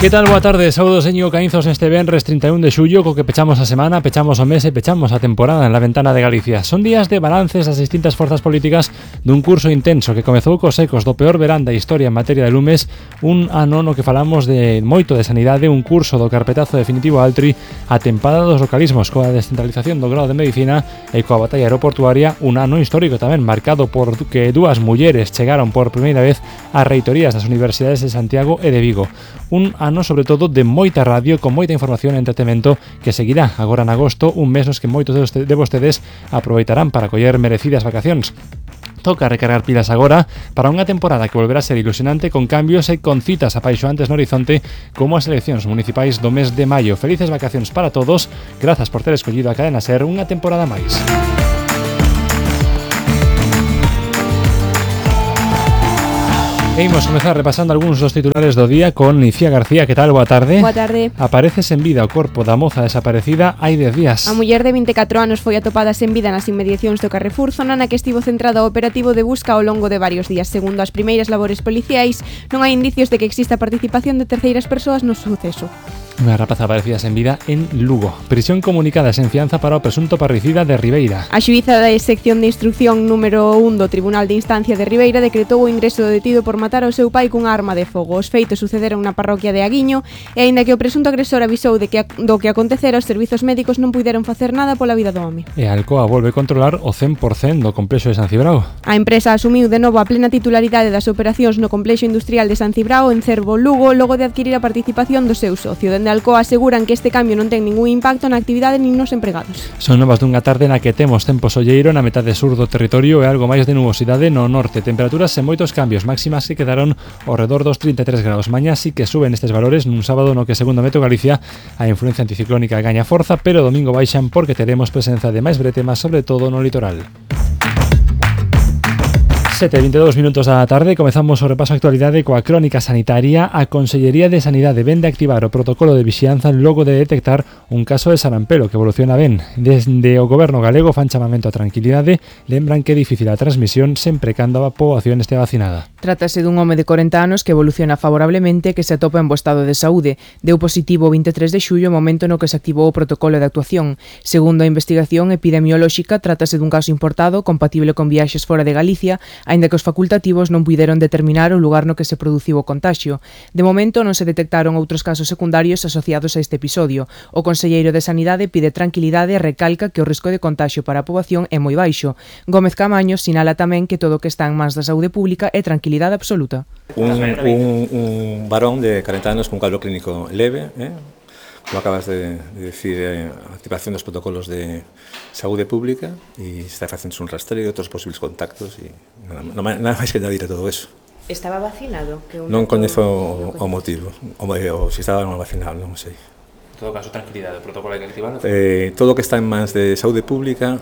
Que tal? Boa tarde, saúdos Íñigo Caínzos neste venres 31 de xullo, co que pechamos a semana, pechamos o mes e pechamos a temporada en la ventana de Galicia. Son días de balances das distintas forzas políticas dun curso intenso que comezou cos ecos do peor verán da historia en materia de lumes, un ano no que falamos de moito de sanidade, un curso do carpetazo definitivo a Altri, a tempada dos localismos coa descentralización do grado de medicina e coa batalla aeroportuaria, un ano histórico tamén marcado por que dúas mulleres chegaron por primeira vez ás reitorías das universidades de Santiago e de Vigo. Un ano sobre todo de moita radio, con moita información e entretemento que seguirá agora en agosto, un mes nos que moitos de vostedes aproveitarán para coller merecidas vacacións. Toca recargar pilas agora para unha temporada que volverá a ser ilusionante con cambios e con citas apaixoantes no horizonte como as eleccións municipais do mes de maio. Felices vacacións para todos, grazas por ter escollido a Cadena Ser unha temporada máis. E imos comezar repasando algúns dos titulares do día con Icía García. Que tal? Boa tarde. Boa tarde. Aparece sen vida o corpo da moza desaparecida hai 10 días. A muller de 24 anos foi atopada sen vida nas inmediacións do Carrefour, zona na que estivo centrado o operativo de busca ao longo de varios días. Segundo as primeiras labores policiais, non hai indicios de que exista participación de terceiras persoas no suceso. Unha rapaza aparecida sen vida en Lugo. Prisión comunicada sen fianza para o presunto parricida de Ribeira. A xuíza da sección de instrucción número 1 do Tribunal de Instancia de Ribeira decretou o ingreso do detido por matar ao seu pai cunha arma de fogo. Os feitos sucederon na parroquia de Aguiño e aínda que o presunto agresor avisou do que acontecera, os servizos médicos non puideron facer nada pola vida do home. E a Alcoa volve controlar o 100% do complexo de San Cibrao. A empresa asumiu de novo a plena titularidade das operacións no complexo industrial de San Cibrao en Cervo, Lugo, logo de adquirir a participación do seu socio. Dende Alcoa aseguran que este cambio non ten ningún impacto na actividade nin nos empregados. Son novas dunha tarde na que temos tempo solleiro na metade sur do territorio e algo máis de nubosidade no norte. Temperaturas sen moitos cambios, máximas que quedaron ao redor dos 33 graus. Mañá sí que suben estes valores nun sábado no que, segundo Meteo Galicia, a influencia anticiclónica gaña forza, pero domingo baixan porque teremos presenza de máis bretemas, sobre todo no litoral. 7:22 minutos da tarde, comezamos o repaso a actualidade coa crónica sanitaria. A Consellería de Sanidade vende a activar o protocolo de vixianza logo de detectar un caso de sarampelo que evoluciona ben. Desde o goberno galego fan chamamento a tranquilidade, lembran que é difícil a transmisión sempre cando a poboación este vacinada. Trátase dun home de 40 anos que evoluciona favorablemente e que se atopa en bo estado de saúde. Deu positivo o 23 de xullo, momento no que se activou o protocolo de actuación. Segundo a investigación epidemiolóxica, trátase dun caso importado compatible con viaxes fora de Galicia, aínda que os facultativos non puideron determinar o lugar no que se produciu o contagio. De momento non se detectaron outros casos secundarios asociados a este episodio. O conselleiro de Sanidade pide tranquilidade e recalca que o risco de contagio para a poboación é moi baixo. Gómez Camaño sinala tamén que todo o que está en mans da saúde pública é tranquilidade absoluta. Un varón de 40 anos con cuadro clínico leve, como acabas de decir, activación dos protocolos de saúde pública e está facendo un rastreo de outros posibles contactos e nada máis que añadir a todo eso. Estaba vacinado? Non coñezo o motivo, ou se estaba non vacinado, non sei. En todo caso, tranquilidade, o protocolo hai que activarlo. Todo o que está en mans de saúde pública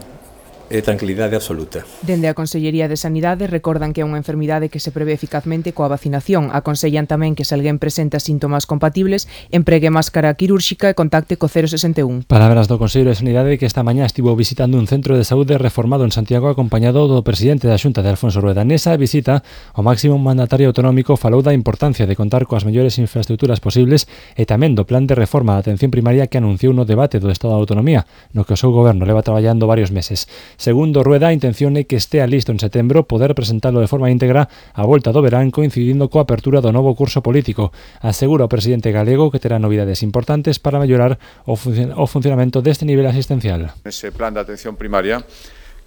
e tranquilidade absoluta. Dende a Consellería de Sanidade recordan que é unha enfermidade que se prevé eficazmente coa vacinación. Aconsellan tamén que se alguén presenta síntomas compatibles empregue máscara quirúrxica e contacte co 061. Palabras do Conselleiro de Sanidade que esta mañá estivo visitando un centro de saúde reformado en Santiago acompañado do presidente da Xunta de Alfonso Rueda. Nesa visita, o máximo mandatario autonómico falou da importancia de contar coas mellores infraestructuras posibles e tamén do plan de reforma da atención primaria que anunciou no debate do Estado de Autonomía, no que o seu goberno leva traballando varios meses. Segundo Rueda, a intención é que estea listo en setembro poder presentalo de forma íntegra a volta do verán coincidindo coa apertura do novo curso político. Asegura o presidente galego que terá novidades importantes para mellorar o funcionamento deste nivel asistencial. Ese plan de atención primaria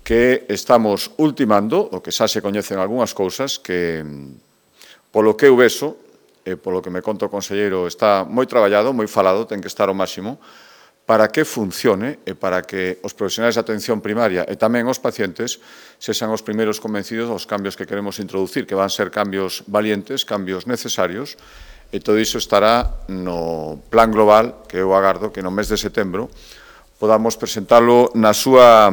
que estamos ultimando, o que xa se coñecen algunhas cousas que, polo que eu vexo, e polo que me conta o conselleiro, está moi traballado, moi falado, ten que estar ao máximo, para que funcione e para que os profesionais de atención primaria e tamén os pacientes sexan os primeiros convencidos dos cambios que queremos introducir, que van ser cambios valientes, cambios necesarios, e todo iso estará no plan global que eu agardo que no mes de setembro podamos presentalo na súa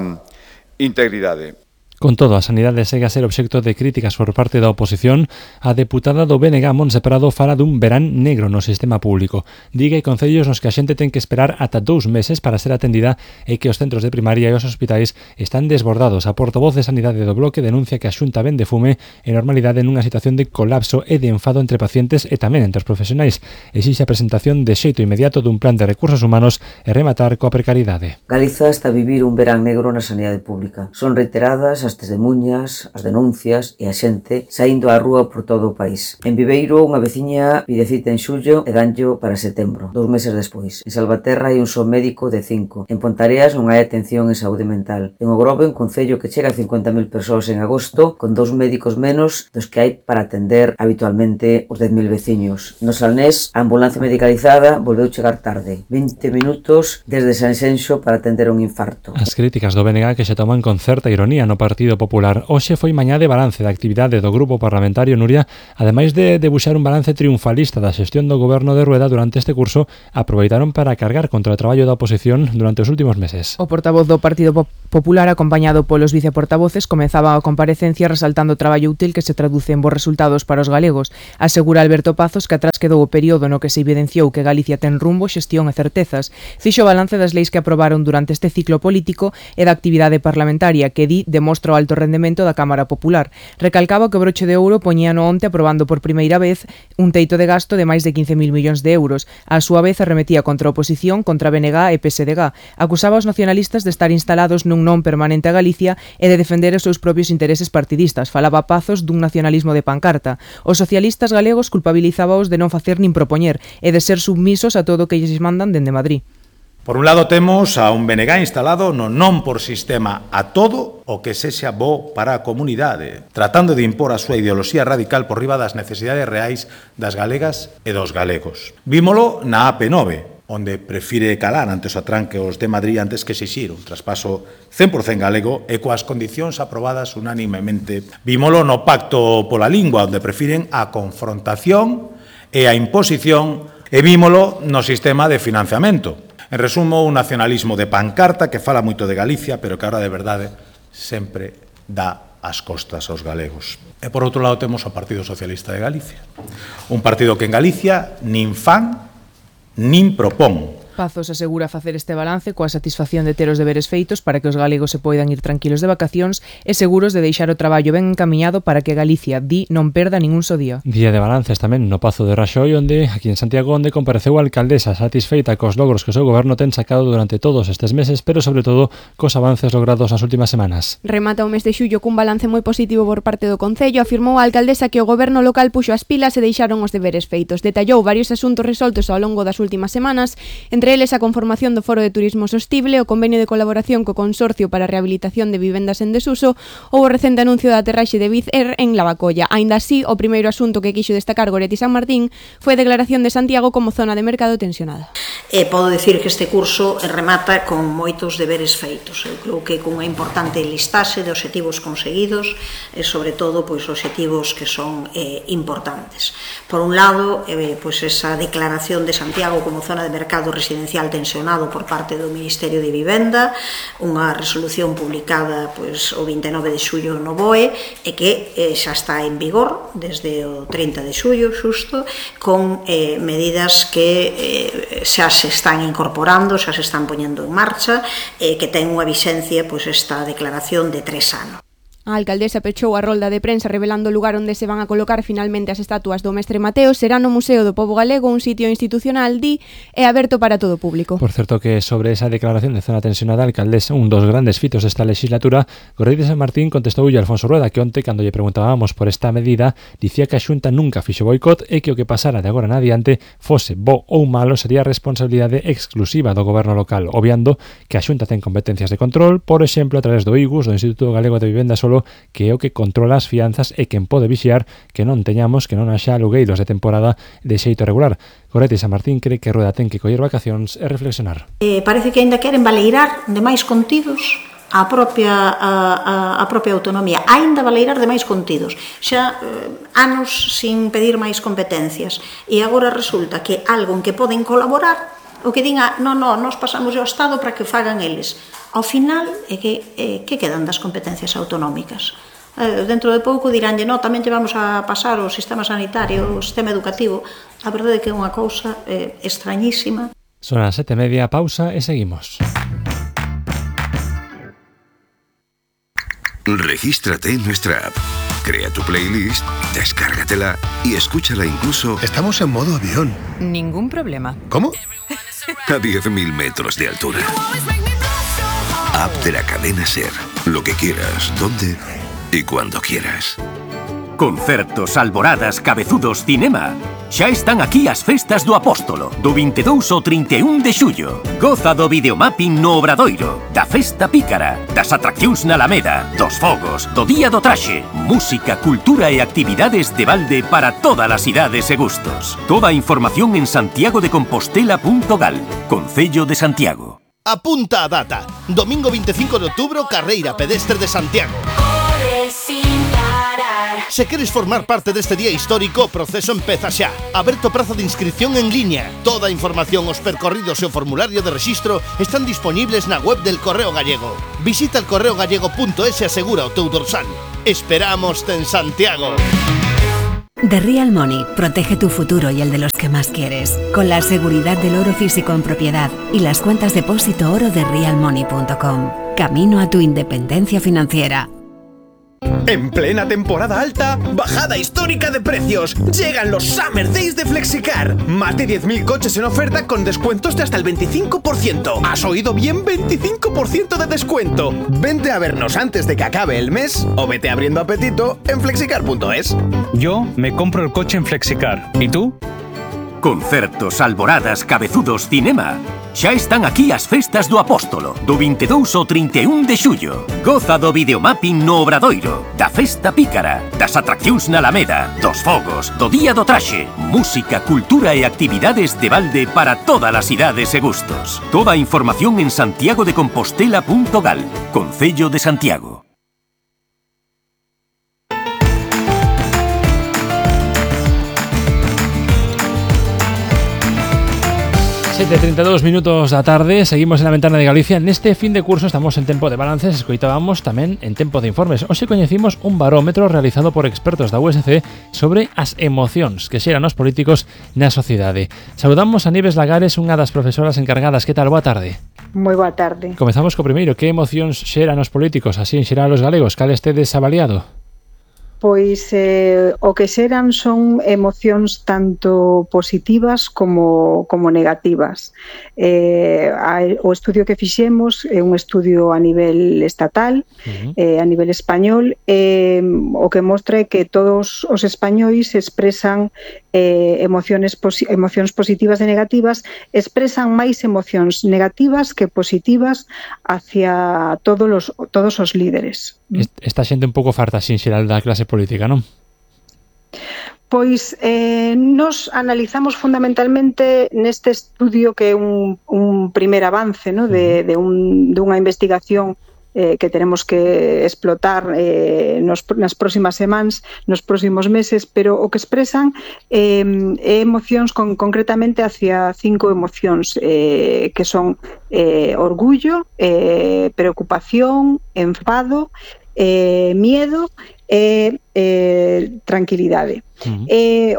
integridade. Con todo, a sanidade segue a ser obxecto de críticas por parte da oposición. A deputada do BNG, Montse Prado, fala dun verán negro no sistema público. Diga que concellos nos que a xente ten que esperar ata 2 meses para ser atendida e que os centros de primaria e os hospitais están desbordados. A portavoz de Sanidade do Bloque denuncia que a Xunta vende fume e normalidade nunha situación de colapso e de enfado entre pacientes e tamén entre os profesionais. Exixe a presentación de xeito inmediato dun plan de recursos humanos e rematar coa precariedade. Galiza está a vivir un verán negro na sanidade pública. Son reiteradas as testemunhas, as denuncias e a xente saindo á rúa por todo o país. En Viveiro, unha veciña pide cita en xullo e danllo para setembro, 2 meses despois. En Salvaterra hai un só médico de 5. En Pontareas non hai atención en saúde mental. En Ogrove, un concello que chega a 50.000 persoas en agosto, con 2 médicos menos dos que hai para atender habitualmente os 10.000 veciños. No Salnés, a ambulancia medicalizada volveu chegar tarde. 20 minutos desde Sanxenxo para atender un infarto. As críticas do BNG que se toman con certa ironía no Partido Popular. Hoxe foi mañá de balance da actividade do Grupo Parlamentario, Nuria, ademais de debuxar un balance triunfalista da xestión do goberno de Rueda durante este curso, aproveitaron para cargar contra o traballo da oposición durante os últimos meses. O portavoz do Partido Popular, acompañado polos viceportavoces, comezaba a comparecencia resaltando o traballo útil que se traduce en bons resultados para os galegos. Asegura Alberto Pazos que atrás quedou o período no que se evidenciou que Galicia ten rumbo, xestión e certezas. Fixo balance das leis que aprobaron durante este ciclo político e da actividade parlamentaria que demostra o alto rendemento da Cámara Popular. Recalcaba que o broche de ouro poñíano onte aprobando por primeira vez un teito de gasto de máis de 15.000 millóns de euros. A súa vez arremetía contra a oposición, contra BNG e PSDG. Acusaba os nacionalistas de estar instalados nun non permanente a Galicia e de defender os seus propios intereses partidistas. Falaba Pazos dun nacionalismo de pancarta. Os socialistas galegos culpabilizábaos de non facer nin propoñer e de ser submisos a todo o que lles mandan dende Madrid. Por un lado temos a un BNG instalado no non por sistema a todo o que sexa bo para a comunidade, tratando de impor a súa ideoloxía radical por riba das necesidades reais das galegas e dos galegos. Vímolo na AP9, onde prefire calar ante os atranqueos de Madrid antes que exixir un traspaso 100% galego e coas condicións aprobadas unánimemente. Vímolo no Pacto pola Lingua, onde prefiren a confrontación e a imposición, e vímolo no sistema de financiamento. En resumo, un nacionalismo de pancarta que fala moito de Galicia, pero que ahora de verdade sempre dá as costas aos galegos. E por outro lado temos o Partido Socialista de Galicia. Un partido que en Galicia nin fan nin propón. Pazos asegura facer este balance coa satisfacción de ter os deberes feitos para que os galegos se poidan ir tranquilos de vacacións e seguros de deixar o traballo ben encaminhado para que Galicia non perda ningún só día. Día de balances tamén no Pazo de Raxoi, onde aquí en Santiago, onde compareceu a alcaldesa satisfeita cos logros que o seu goberno ten sacado durante todos estes meses, pero sobre todo cos avances logrados nas últimas semanas. Remata o mes de xullo cun balance moi positivo por parte do Concello. Afirmou a alcaldesa que o goberno local puxo as pilas e deixaron os deberes feitos. Detallou varios asuntos resoltos ao longo das últimas semanas, entre eles a conformación do Foro de Turismo Sostible, o convenio de colaboración co Consorcio para a Rehabilitación de Vivendas en Desuso ou o recente anuncio da aterraxe de Wizz Air en Lavacolla. Aínda así, o primeiro asunto que quixo destacar Goretti San Martín foi a declaración de Santiago como zona de mercado tensionada. Podo dicir que este curso remata con moitos deberes feitos. Eu creo que cunha importante listaxe de obxectivos conseguidos e, sobre todo, obxectivos que son importantes. Por un lado, esa declaración de Santiago como zona de mercado residencial tensionado por parte do Ministerio de Vivenda, unha resolución publicada o 29 de xullo no BOE e que xa está en vigor desde o 30 de xullo, xusto, con medidas que xa se están incorporando, xa se están poñendo en marcha, que ten unha vixencia esta declaración de 3 anos. A alcaldesa pechou a rolda de prensa revelando o lugar onde se van a colocar finalmente as estatuas do Mestre Mateo. Será no Museo do Pobo Galego, un sitio institucional, e aberto para todo o público. Por certo que sobre esa declaración de zona tensionada, a alcaldesa, un dos grandes fitos desta legislatura, Goretti San Martín contestoulle a Alfonso Rueda que onte, cando lle preguntábamos por esta medida, dicía que a Xunta nunca fixo boicot e que o que pasara de agora en adiante, fose bo ou malo, sería responsabilidade exclusiva do goberno local, obviando que a Xunta ten competencias de control, por exemplo, a través do IGUS, do Instituto Galego de Vivenda Solo, que é o que controla as fianzas e quen pode vixiar que non haxa alugueiros de temporada de xeito regular. Goretti San Martín cree que Rueda ten que coller vacacións e reflexionar. Parece que aínda queren baleirar de máis contidos a propia autonomía, aínda baleirar de máis contidos. Xa anos sin pedir máis competencias e agora resulta que algo en que poden colaborar, o que diga, non, nos pasamos ao Estado para que fagan eles. Ao final, que quedan das competencias autonómicas? Dentro de pouco diránlle, no, tamén lle vamos a pasar o sistema sanitario, o sistema educativo. A verdade é que é unha cousa extrañísima. Son as 7:30, pausa e seguimos. Regístrate en nuestra app. Crea tu playlist, descárgatela y escúchala incluso... Estamos en modo avión. Ningún problema. ¿Cómo? A 10.000 metros de altura. App de la cadena SER. Lo que quieras, donde y cuando quieras. Concertos, alboradas, cabezudos, cinema. Xa están aquí as festas do Apóstolo, do 22 ao 31 de xullo. Goza do videomapping no Obradoiro, da festa pícara, das atraccións na Alameda, dos fogos, do Día do Traxe, música, cultura e actividades de balde para todas as idades e gustos. Toda a información en santiagodecompostela.gal, Concello de Santiago. Apunta a data. Domingo 25 de outubro, carreira pedestre de Santiago. Se queres formar parte deste día histórico, o proceso empeza xa. Aberto prazo de inscripción en liña. Toda a información, os percorridos e o formulario de rexistro están disponibles na web del Correo Gallego. Visita el correogallego.es e asegura o teu dorsal. Esperámoste en Santiago. The Real Money protege tu futuro y el de los que más quieres, con la seguridad del oro físico en propiedad y las cuentas depósito oro de realmoney.com. Camino a tu independencia financiera. En plena temporada alta, bajada histórica de precios. Llegan los Summer Days de Flexicar. Más de 10.000 coches en oferta con descuentos de hasta el 25%. ¿Has oído bien? 25% de descuento. Vente a vernos antes de que acabe el mes o vete abriendo apetito en flexicar.es. Yo me compro el coche en Flexicar. ¿Y tú? Concertos, alboradas, cabezudos, cinema. Xa están aquí as festas do Apóstolo, do 22 ao 31 de xullo. Goza do videomapping no Obradoiro, da festa pícara, das atraccións na Alameda, dos fogos, do Día do Traxe, música, cultura e actividades de balde para todas as idades e gustos. Toda a información en santiagodecompostela.gal, Concello de Santiago. 7:32 minutos da tarde, seguimos en la ventana de Galicia. Neste fin de curso estamos en tempo de balances, escoitábamos tamén en tempo de informes. Hoxe coñecimos un barómetro realizado por expertos da USC sobre as emocións que xeran os políticos na sociedade. Saudamos a Nieves Lagares, unha das profesoras encargadas. Que tal? Boa tarde. Moi boa tarde. Comezamos co primeiro. Que emocións xeran os políticos, así en xeral os galegos? Cal estedes avaliado? Pois o que xeran son emocións tanto positivas como negativas. O estudio que fixemos é un estudio a nivel estatal, a nivel español, o que mostra é que todos os españois expresan emocións positivas e negativas, expresan máis emocións negativas que positivas hacia todos os líderes. Esta xente un pouco farta sin xeral da clase política, non? Pois nos analizamos fundamentalmente neste estudio que é un primer avance, ¿no? dunha investigación que tenemos que explotar nas próximas semanas, nos próximos meses, pero o que expresan é emocións concretamente hacia 5 emocións que son orgullo, preocupación, enfado, miedo e tranquilidade.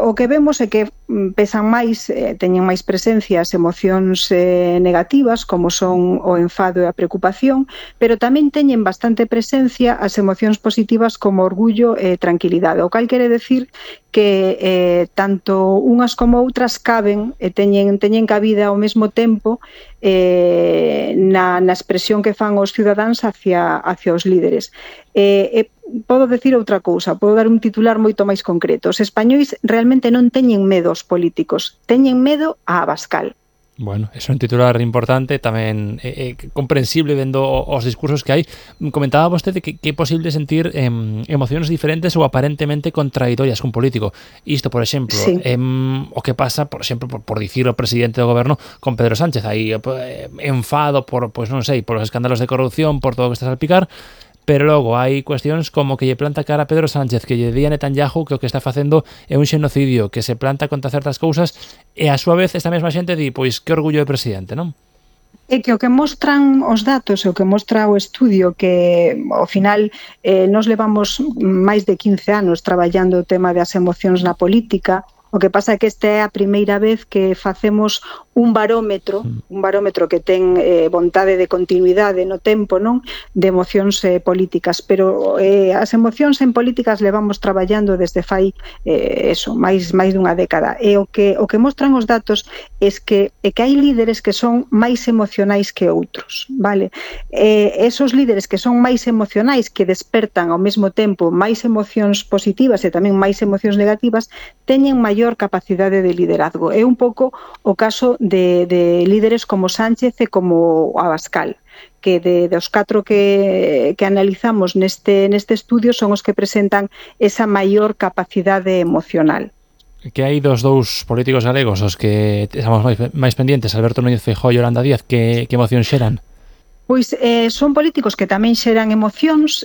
O que vemos é que pesan máis, teñen máis presencia as emocións negativas, como son o enfado e a preocupación, pero tamén teñen bastante presencia as emocións positivas como orgullo e tranquilidade, o cal quere decir que tanto unhas como outras caben e teñen cabida ao mesmo tempo na expresión que fan os cidadáns hacia os líderes. Podo decir outra cousa, podo dar un titular moito máis concreto. Os españois realmente non teñen medo aos políticos, teñen medo a Abascal. Bueno, eso é un titular importante, tamén comprensible vendo os discursos que hai. Comentaba vostede que é posible sentir emocións diferentes ou aparentemente contradictorias cun político. Isto, por exemplo, sí. O que pasa, por exemplo, por dicir o presidente do goberno con Pedro Sánchez, aí enfado por, pois non sei, por os escándalos de corrupción, por todo o que está a salpicar. Pero logo hai cuestións como que lle planta cara a Pedro Sánchez, que lle di a Netanyahu que o que está facendo é un xenocidio, que se planta contra certas cousas e a súa vez esta mesma xente di, pois que orgullo de presidente, non? É que o que mostran os datos e o que mostra o estudio que ao final nos levamos máis de 15 anos traballando o tema das emocións na política. O que pasa é que esta é a primeira vez que facemos un barómetro que ten vontade de continuidade no tempo, non? De emocións políticas, pero as emocións en políticas levamos traballando desde fai máis dunha década. E o que mostran os datos é que hai líderes que son máis emocionais que outros, vale? Esos líderes que son máis emocionais, que despertan ao mesmo tempo máis emocións positivas e tamén máis emocións negativas, teñen maior capacidade de liderazgo. É un pouco o caso de líderes como Sánchez e como Abascal, que dos 4 que analizamos neste estudio son os que presentan esa maior capacidade emocional. Que hai dos dous políticos galegos os que estamos máis pendientes, Alberto Núñez Feijóo e Yolanda Díaz, que emoción xeran? Pois son políticos que tamén xeran emocións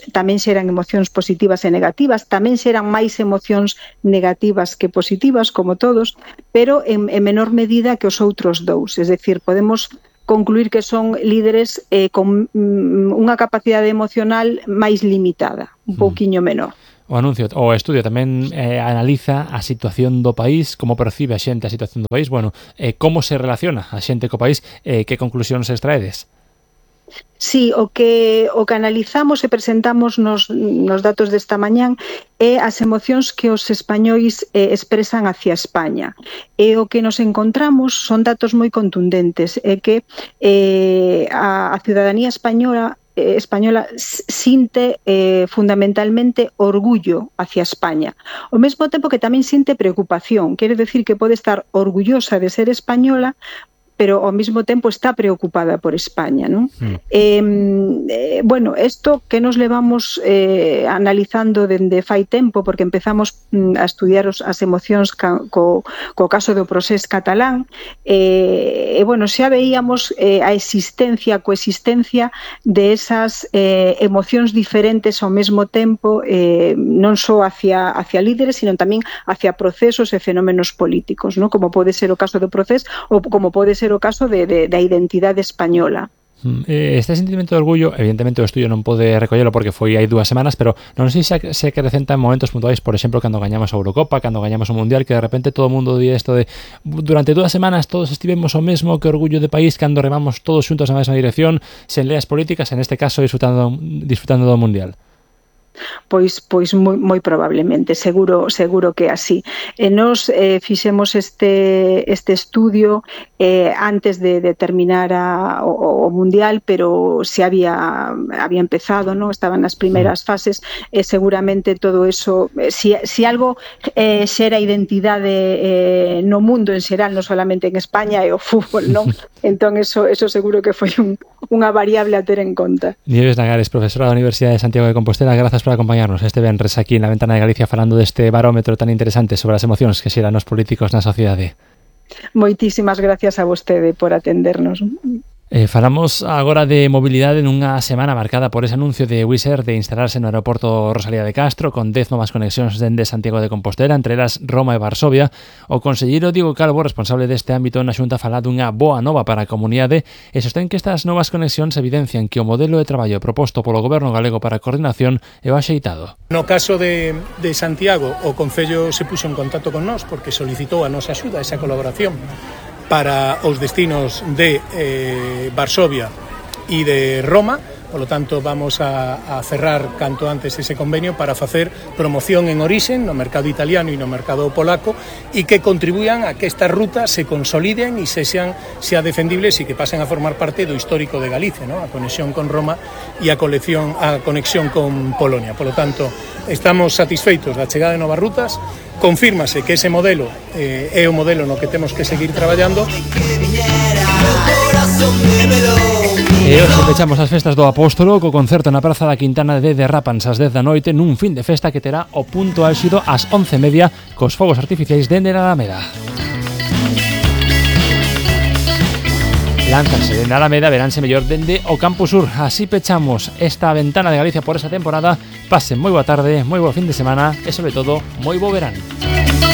positivas e negativas, tamén xeran máis emocións negativas que positivas, como todos, pero en menor medida que os outros dous. Es decir, podemos concluir que son líderes con unha capacidade emocional máis limitada, un pouquiño menor. O estudio tamén analiza a situación do país, como percibe a xente a situación do país, como se relaciona a xente co país, que conclusións extraedes? Sí, o que analizamos e presentamos nos datos desta mañán é as emocións que os españois expresan hacia España. E o que nos encontramos son datos moi contundentes, é que a ciudadanía española sinte fundamentalmente orgullo hacia España. Ao mesmo tempo que tamén sinte preocupación, quere decir que pode estar orgullosa de ser española, pero ao mesmo tempo está preocupada por España, non? Isto que nos levamos analizando dende fai tempo, porque empezamos a estudiar as emocións co caso do procés catalán, xa veíamos a coexistencia de esas emocións diferentes ao mesmo tempo, non só hacia líderes, sino tamén hacia procesos e fenómenos políticos, non? Como pode ser o caso do procés ou como pode ser o caso da identidade española. Este sentimento de orgullo, evidentemente o estudio non pode recollelo porque foi hai 2 semanas, pero non sei se acrecenta en momentos puntuais, por exemplo, cando gañamos a Eurocopa, cando gañamos o Mundial, que de repente todo o mundo di isto de durante 2 semanas todos estivemos o mesmo, que orgullo de país, cando remamos todos xuntos na mesma dirección, sen leas políticas, en este caso disfrutando do Mundial. Pois moi probablemente, seguro que así. Nos fixemos este estudio antes de terminar o Mundial, pero se había empezado, ¿no? Estaban nas primeiras fases, seguramente todo eso, si algo xera identidade no mundo en xeral, non solamente en España, é o fútbol, non? Entón eso seguro que foi unha variable a ter en conta. Nieves Nagares, profesora da Universidade de Santiago de Compostela, grazas por acompañarnos este venres aquí na Ventana de Galicia falando deste barómetro tan interesante sobre as emocións que xeran os políticos na sociedade. Moitísimas gracias a vostede por atendernos. Falamos agora de mobilidade nunha semana marcada por ese anuncio de Wizz Air de instalarse no aeroporto Rosalía de Castro con 10 novas conexións dende Santiago de Compostela, entre elas Roma e Varsovia. O conselleiro Diego Calvo, responsable deste ámbito na Xunta, fala dunha boa nova para a comunidade e sostén que estas novas conexións evidencian que o modelo de traballo proposto polo Goberno galego para a coordinación é o axeitado. No caso de Santiago, o Concello se puxo en contacto con nós porque solicitou a nosa axuda, esa colaboración para os destinos de Varsovia e de Roma. Por lo tanto, vamos a cerrar canto antes ese convenio para facer promoción en orixen no mercado italiano e no mercado polaco e que contribuyan a que estas rutas se consoliden e sean defendibles e que pasen a formar parte do histórico de Galicia, ¿no? A conexión con Roma e a conexión con Polonia. Por lo tanto, estamos satisfeitos da chegada de novas rutas. Confírmase que ese modelo é o modelo no que temos que seguir traballando. E hoxe pechamos as festas do Apóstolo co concerto na Praza da Quintana de Derrapans ás 10 da noite nun fin de festa que terá o punto álxido ás 11:30 cos fogos artificiais dende a Alameda. Lánzanse dende a Alameda, veránse mellor dende o Campus Sur. Así pechamos esta Ventana de Galicia por esa temporada. Pasen moi boa tarde, moi bo fin de semana e, sobre todo, moi bo verán.